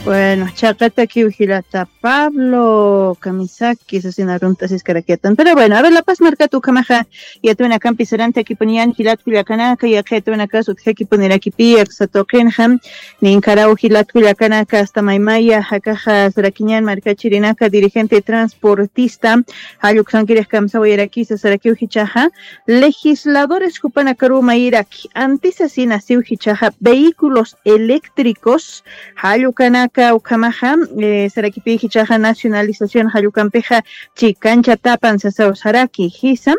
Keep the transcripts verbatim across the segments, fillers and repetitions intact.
Bueno, chaqatakiw jilata Pablo kamisaki sasin arunt'asiskarakyatan. Pero bueno, a ver, La Paz markata ukhamaxa yatwinakampi sarantakipuniyan jilat kullakanaka, yaqha yatwinakas utjakipunirakipï aksa tuqinxa. Ninkaraw jilat kullakanaka, asta maymaya akaxa sarakiñan markachirinaka dirigente transportista jalluksankirix kamsawayarakisa sarakiw jichhaxa, legisladores jupanakaruw mayiraki antisasina siw jichhaxa vehículos eléctricos jallukanaka ukhamaxa, eh, sarakipï jichhaxa nacionalización jallukampixa chikañchatapan sasaw saraki jisa.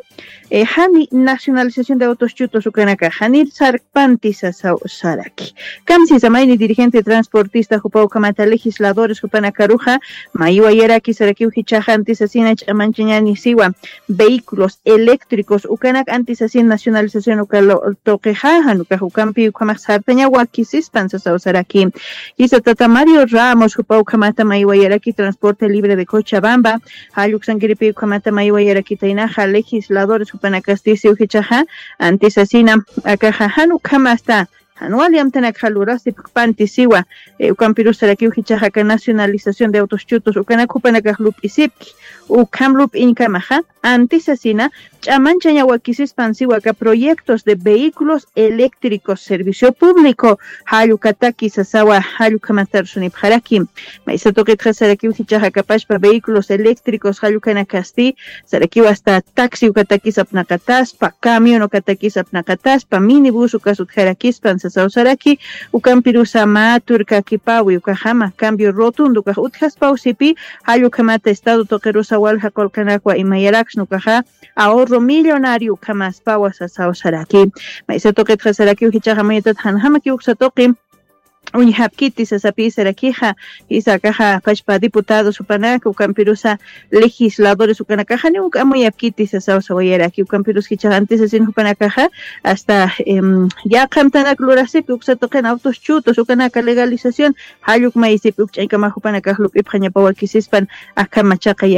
Eh, jani nacionalización de autos chutos ukanaka janir sarkpanti sasaw saraki. Kamsisa mayni dirigente transportista jupa ukhamata legisladores jupanakaruxa maywayaraki sarakiw jichhaxa antisasina ch'amanchañani siwa vehículos eléctricos ukanak antisasina nacionalización uka tuqixa jan ukax ukampi ukhamax sartaña wakisispan sasaw saraki. Jisa tata Mario Ramos jupa ukhamata maywayaraki transporte libre de Cochabamba jalluksankiripï ukhamata maywayarakitaynaxa legisladores jupanakasti siw jichhaxa antisasina akaxa jan ukhamasta jan wali amtanakxa lurasipkpanti siwa. Eh, ukampirus sarakiw jichhaxa aka nacionalización de autos chutos ukanak jupanakax lup'isipki ukham lup'iñkamaxa antisasina ch'amanchaña wakisispan siwa aka proyectos de vehículos eléctricos servicio público jallukataki sasawa jallukamatarsunipxaraki. Maysa tuqitxa sarakiw jichhaxa kapachpa vehículos eléctricos jallukanakasti sarakiw asta taxi ukatakis apnaqataspa, camión ukatakis apnaqataspa, minibús ukas utjarakispan sasaw saraki. Ukampirusa mä turkakipawi ukaxama cambio rotundo ukax utjaspawsipï jallukhamata estado tuqirusa walja qullqanakwa imayaraksna ukaxa ahorro millonario ukhamaspawa sasaw saraki. Maysa tuqitxa sarakiw jichhaxa mayatat janjamakiw uksa tuqi uñjapkiti sasapï sarakixa. Jisa akaxa pachpa diputados jupanaka ukampirusa legisladores ukanakaxa janiw amuyapkiti sasaw sawayaraki ukampirus jichhaxa antisasin jupanakaxa asta yaqha amtanak lurasipki uksa tuqin autos chutos ukanaka legalización jalluk mayisipki ukch'aykamax jupanakax lup'ipxañapa wakisispan akhama chaqay.